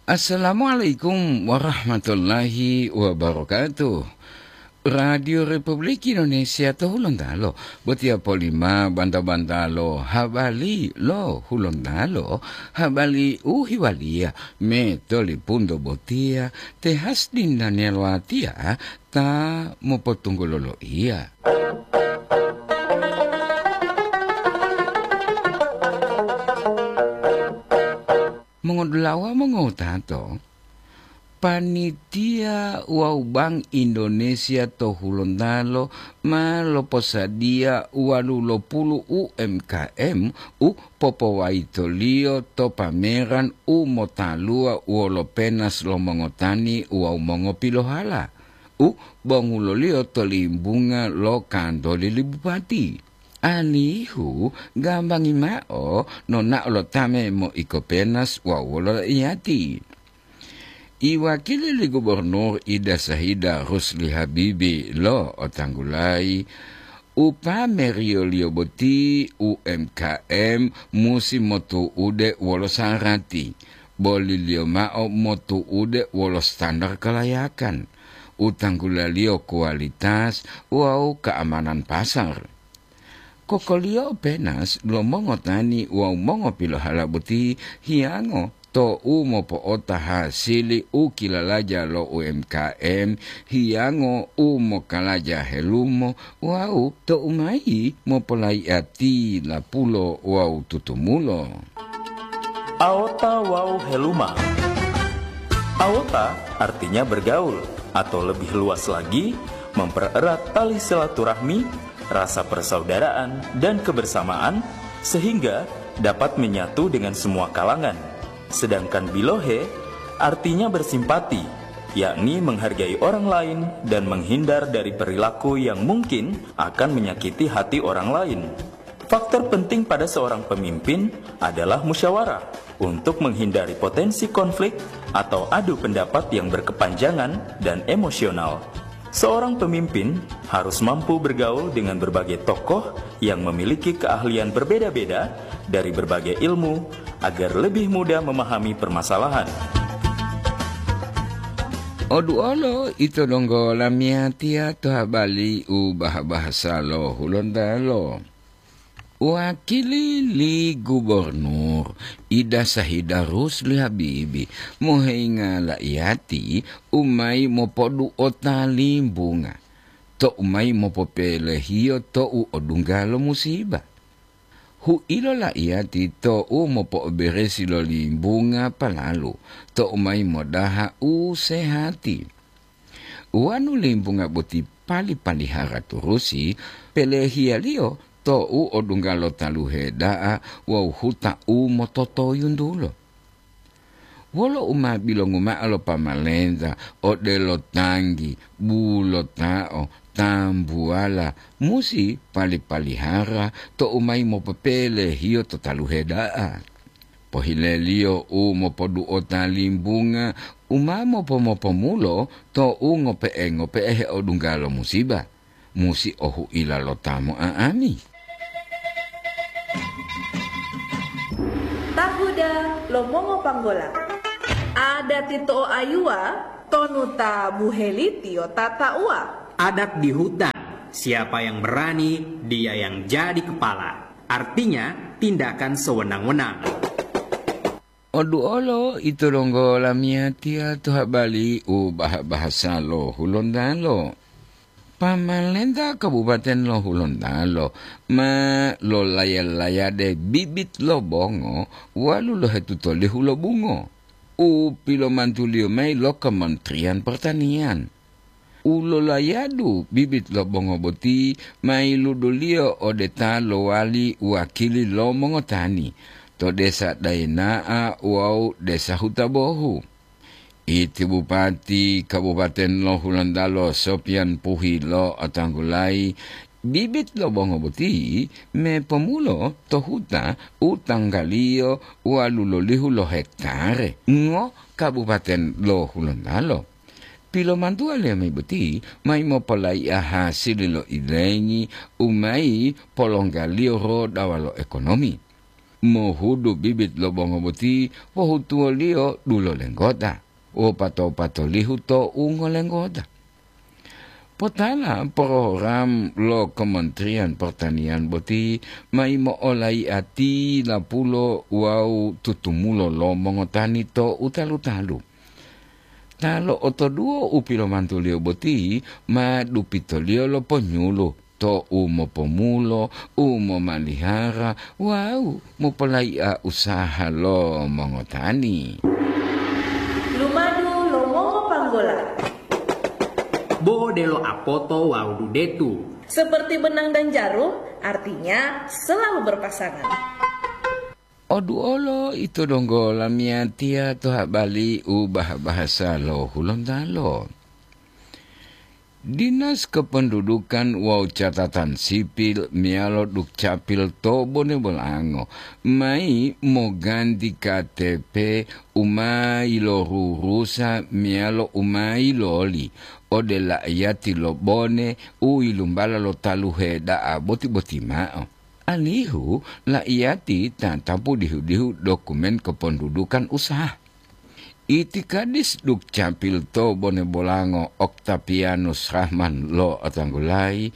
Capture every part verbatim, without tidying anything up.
Assalamualaikum warahmatullahi wabarakatuh. Radio Republik Indonesia to Hulontalo, botiya polima banta-bantalo habari lo Hulontalo, habari u hiwaliya me tolipunto botiya te Hasdin Daniel Watiya ta mopotunggulo loiya. Mongodulawa mongowutato, panitia wawu Bank Indonesia to Hulontalo ma loposadiya walu lo pulu U M K M u popowayitoliyo to pameran u motaluwa wolo penas lo mongotani wawu mongopilohala, u bonguloliyo to limbunga lo kantoli li bupati. Alihu gambangi mao nonao lo ta memoiko penas wawu wolo iyati. Iwakili li Gubernur Ida Sahida Rusli Habibi lo otanggulayi, upameriyoliyo boti U M K M musi motu'ude wolo sarati, boliliyo mao motu'ude wolo standar kalayakan, utanggulaliyo kualitas wawu keamanan pasar. Kokoliyo penas lo mongotani wawu mongopilohala boti hiyango to u mopo'ota hasili u kilalaja lo U M K M, hiyango u mokalaja helumo wawu to u mayi mopolayi'ati lapulo wawu tutumulo. Aota wawu heluma. Aota artinya bergaul, atau lebih luas lagi, mempererat tali silaturahmi, rasa persaudaraan, dan kebersamaan, sehingga dapat menyatu dengan semua kalangan. Sedangkan bilohe artinya bersimpati, yakni menghargai orang lain dan menghindar dari perilaku yang mungkin akan menyakiti hati orang lain. Faktor penting pada seorang pemimpin adalah musyawarah untuk menghindari potensi konflik atau adu pendapat yang berkepanjangan dan emosional. Seorang pemimpin harus mampu bergaul dengan berbagai tokoh yang memiliki keahlian berbeda-beda dari berbagai ilmu agar lebih mudah memahami permasalahan. Oduolo ito donggo lamiyatiya to habari u bahasa lo Hulontalo. Wakili li Gubernur Ida Sahida Rusli Habibi moheinga la'iyati u mayi mopodu'ota limbunga, to u mayi mopopelehiyo to u odungga lo musiba. Hu'ilo la'iyati to u mopo'oberesi lo limbunga palalu, to u mayi modaha u sehati. Wonu limbunga boti pali-palihara turusi, pelehiyaliyo to u odungga lo taluhe da'a wawu huta u mototoyuntulo. Wolo u ma bilongu mao lo pamalenta odelo tanggi, bulotao, tambuwala, musi pali-palihara to u mayi mopopelehiyo to taluhe da'a. Pohileliyo u mopodu'ota limbunga u ma mopo-mopomulo to u ngope'e-ngope'e heodungga lo musiba, musi ohu'ila lo ta mo'a'ani. Tahuda lo mongopanggola. Adati to'oayuwa tonu ta buhelitiyo tata'uwa. Adat di hutan, siapa yang berani, dia yang jadi kepala. Artinya, tindakan sewenang-wenang. Oduolo ito donggo lamiyatiya to habari u baha-bahasa lo Hulontalo. Pamalenta Kabupaten lo Hulontalo ma lolaya-layade bibit lo bongo walu lohetuto lihu lo bungo u pilomantuliyo mayi lo Kementerian Pertanian. U lolayadu bibit lo bongo boti ma yiluduliyo ode ta lowali wakili lo mongotani to desa Daena'a wawu desa Hutabohu. Iti Bupati Kabupaten lo Hulontalo Sopian Puhi lo otanggulayi bibit lo bongo boti me pomulo to huta u tanggaliyo walu lolihu lo hektare ngo Kabupaten lo Hulontalo. Pilomantuwa lemi boti mayi mopolaiya hasili lo ilengi u mayi polonggaliyo rodawa lo ekonomi. mohudu bibit lo bongo boti pohutuwoliyo dulo lenggota, wopato-patolihu to ungolenggota. Potala program lo Kementerian Pertanian boti ma yimo'olaiya tilapulo wawu tutumulo lo mongotani to u talu-talu. Ta lo'otoduwo u pilomantuliyo boti ma dupitoliyo lo ponyulu to u mopomulo, u momalihara wawu mopolaiya usaha lo mongotani. Lumadu lo mongopanggola. Bo odelo apoto wawu dudetu. Seperti benang dan jarum, artinya selalu berpasangan. Oduolo ito donggo lamiyatiya to habali u bah-bahasa lo Hulontalo. Dinas Kependudukan wawu Catatan Sipil meyalo Dukcapil to Bone Bolango mayi moganti K T P u ma yilorurusa meyalo u ma yiloli ode la'iyati lo Bone u yilumbala lo taluhe da'a boti-boti mao, alihu la'iyati tatapu dihu-dihu dokumen kependudukan usaha. Itikadis Dukcapil to Bone Bolango Oktapianus Rahman lo'otanggulayi,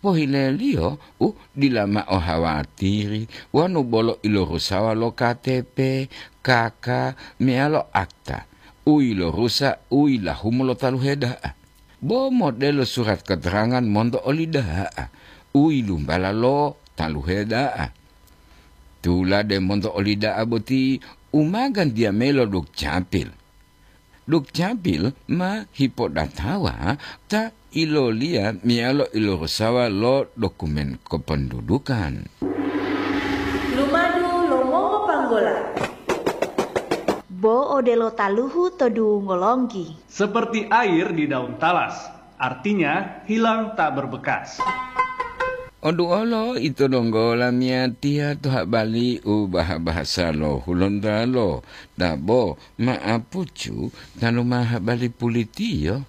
pohileliyo u dila mao hawatiri wonu bolo ilorusawa lo K T P, K K, meyalo akta u yilorusa u yilahumu lo taluhe da'a. Bo modelo surat keterangan monto oli da'a u yilumbala lo taluhe da'a. Tulade monto oli da'a boti u ma gantiya mayi lo Dukcapil. Dukcapil ma hipodatawa ta iloliya meyalo ilorusawa lo dokumen kependudukan. Lumadu lo mongopanggola. Bo odelo taluhu to dungo longgi. Seperti air di daun talas, artinya hilang tak berbekas. Oduolo ito donggo lamiyatiya to habali u bah-bahasa lo Hulontalo, dabo ma'apucu tanu ma habali pulitiyo.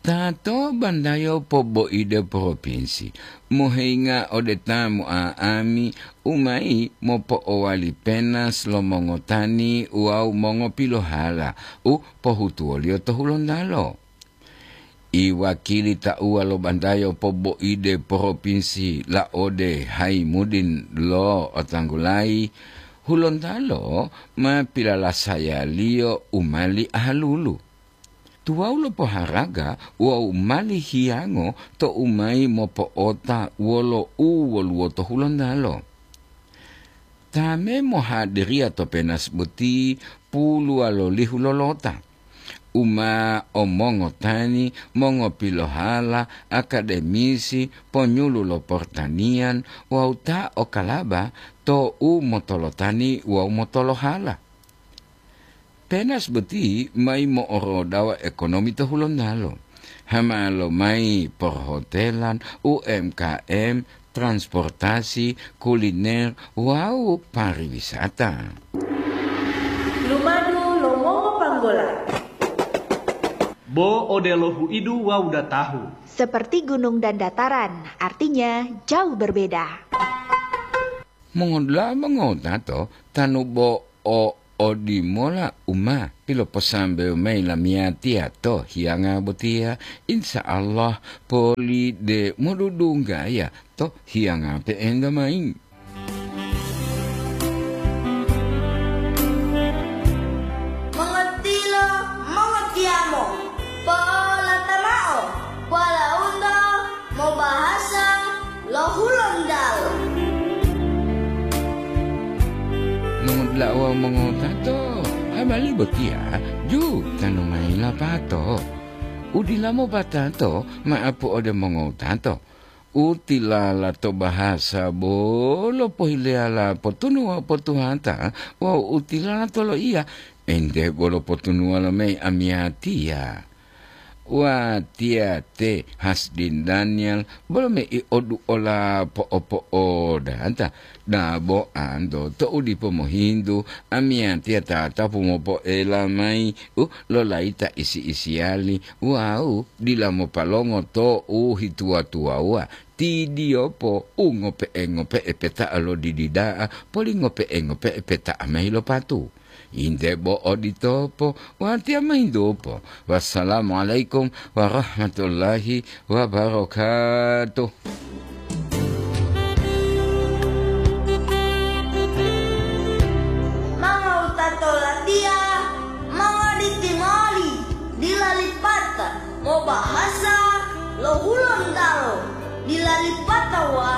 Ta to bandayo poboide propinsi, moheyinga ode ta mo'a'ami u mayi mopo'owali penas lo mongotani wawu mongopilohala u pohutuwoliyo to Hulontalo. Iwakili tauwa lo bandayo poboide propinsi Laode Haimudin lo'otanggulayi, Hulontalo ma pilalasayaliyo u mali ahalulu. Tuwawu lo poharaga wawu mali hiyango tou mayi mopo'ota wolo u woluwo to Hulontalo. Ta me mohadiriya to penas boti puluwalolihu lolota, u ma o mongotani, mongopilohala, akademisi, ponyulu lo portaniyan wawu ta o kalaba to u motolotani wawu motolohala. Penas boti mayi mo'orodawa ekonomi to Hulontalo, hama lomayi perhotelan, U M K M, transportasi, kuliner, wawu pariwisata. Lumadu lo mongopanggola. Bo odelo huidu wawu datahu. Seperti gunung dan dataran, artinya jauh berbeda. Mongodula'a mongotato, tanu bo o odimola u ma piloposambewo mayi lamiyatiya to hiyanga botiya, insya Allah poli de modudunggaya to hiyanga pe'enta mayi. Mongotilo, mongotiyamo, polata mao, walaundo mobahasa lo Hulontalo. Mongotlawa mongotato, habari botiya ju tanu mayi lapato. Udila mopatato ma'apu ode mongotato. Utilala to bahasa bolo pohileyala potunuwa potuhata wawu utilala to loiya ente bolo potunuwa lo mayi amiyatiya. Watiya te Hasdin Daniel, bolo me i odu ola po'o-po'odata, dabo anto to'u dipo mohintu, amiyatiya tatapu mopo'ela mayi u lolayita isi-isiyali wawu dila mopalongo to'u hituwa-tuwawuwa, tidiyopo u ngope'e-ngope'e peta'a lo didida'a, poli ngope'e-ngope'e peta'a mayi lo patu. Inte bo oditopo, watiya mahintupo. Wassalamualaikum warahmatullahi wabarakatuh. Mangawutato latiya, mangaditimali, dila lipata, mobahasa lo Hulontalo, dila lipata wa